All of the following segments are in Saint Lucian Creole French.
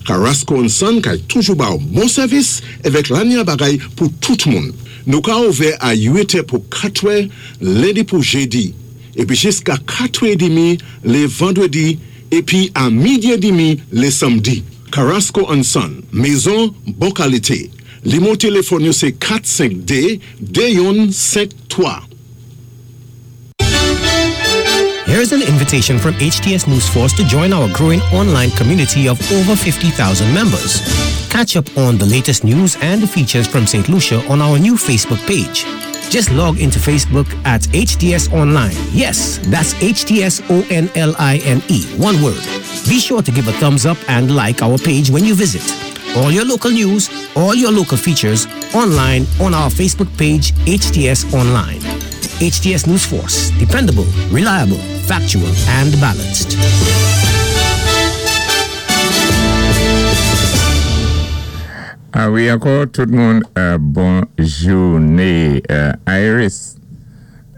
Carrasco and Son kay toujou ba-w bon sèvis èvèk lanya bagay pou tout moun. Nou ka ouvè a 8 è pou 4 è lendi pou jedi, épi jiska 4 è demi lé vandrédi épi a midi è demi lé sanmdi. Carrasco and Son, mezon bon kalité. Limwo téléfòn yo sé 4 5 2 2 youn 5 3. Here's an invitation from HTS News Force to join our growing online community of over 50,000 members. Catch up on the latest news and features from St. Lucia on our new Facebook page. Just log into Facebook at HTS Online. Yes, that's H T S O N L I N E, one word. Be sure to give a thumbs up and like our page when you visit. All your local news, all your local features, online on our Facebook page, HTS Online. HTS News Force, dependable, reliable, factual, and balanced. A wi ankò tout moun bon jouné Iris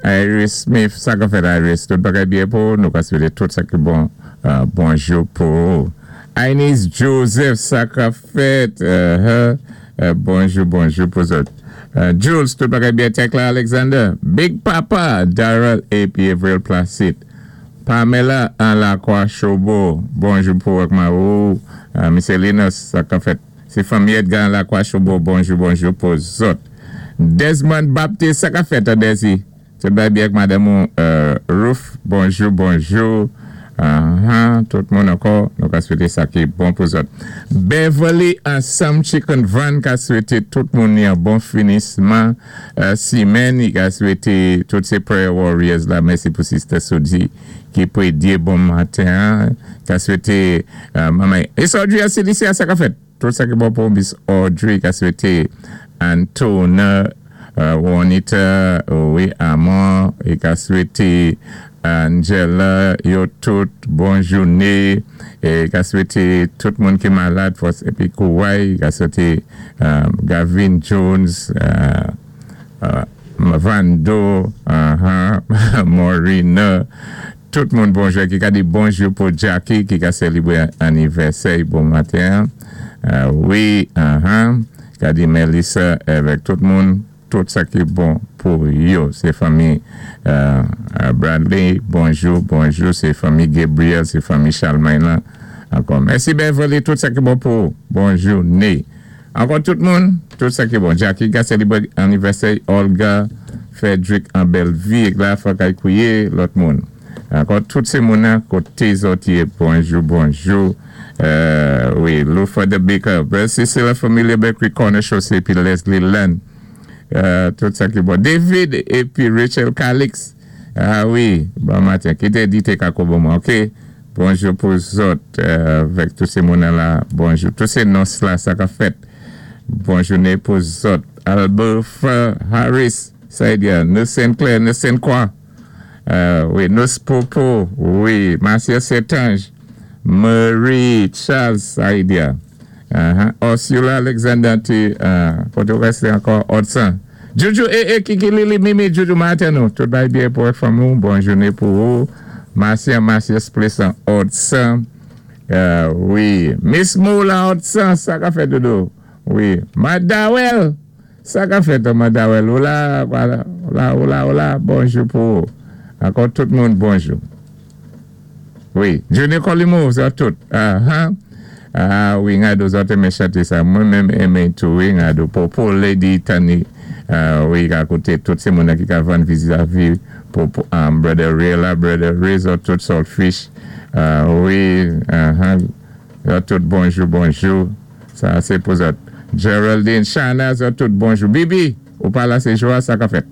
Iris Smith sa kap fèt Iris tout bagay byen pou ou nou ka swete tout sa ki bon bonjou pou ou Ainis Joseph sa kap fèt bonjou bonjou pou zòt Jules tout bagay byen Tecla Alexander Big Papa Darrell epi Avril Placide Pamela an lakwa chobo bonjou pou ak mari w Misye Linus sa kap fèt se fanmi Edgar an lakwa chobo bonjou bonjou pou zòt Desmond Baptiste sa kap fèt Desi tout bagay byen ak madanm ou Ruth bonjou bonjou ahan tout moun ankò nou ka swete sa ki bon pou zòt Beverly ansanm Chicken Van ka swete tout moun yon bon finisman Simèn li ka swete tout se prayer warriors la mèsi pou sister Sodie ki predye bon maten an ka swete manman Miss Audrey a Celicia sa ka fèt tout sa ki bon pou Miss Audrey ka swete Antona Juanita wi Amor li ka swete Angela yo tout bon joune e ka swete tout moun ki malad fòs epi kouray ka swete Gavin Jones Vando Morina tout moun bonjou ki ka di bonjou pou Jacky ki ka selebre anivèsè bon maten an wi ka di Melissa avèk tout moun. Tout sa ki bon pou yo se fanmi Bradley bonjou bonjou se fanmi Gabriel se fanmi Chalmay lan ankò mèsi Beverly tout sa ki bon pou ou bonjou ne ankò tout moun tout sa ki bon Jacky ka selebre anivèsè Olga Fredrick an bèl vi la fòk ay kwiye lòt moun ankò tout se moun nan kote zòt ye bonjou bonjou wi Luther the Baker Brother Cecile la Familia Bakery Corner Chaussée epi Leslie Land tout sa ki bon David epi Rachel Calix ah wi bon maten kite dite kako bon mwen ok bonjou pou zòt avèk tout se moun nan la bonjou tout se nons la sa kap fèt bon joune pou zòt Albert Harris sa e di a nou Saint Clair nou Saint Croix wi nous Popo wi Marcia Saint-Ange Marie Charles Saïdia uh Ursula Alexander ti kote ou reste ankò Odson Juju ee Kiki Lili Mimi Juju maten nou tout bagay byen pou ak fanmi w bon joune pou ou Marcia Marcius Place an Odson wi Miss Mou lan Odson sa ka fèt dodo wi Madawèl Sa ka fèt an Madawèl ou la ou la ou la ou la bonjou pou ou ankò tout moun bonjou wi Junior Colimou zòt tout ahan ah wi Ngado zòt enmen chante sa mwen menm enmen tou wi Ngado popo Lady Tani wi ka koute tout se moun nan ki ka vann vizavi popo brother Ray la brother Ray zòt tout Saltfish wi ahan zòt tout bonjou bonjou. Sa se pou zòt. Geraldine, Shana zòt tout bonjou. Bibi, ou pa la se jwa sa ka fèt.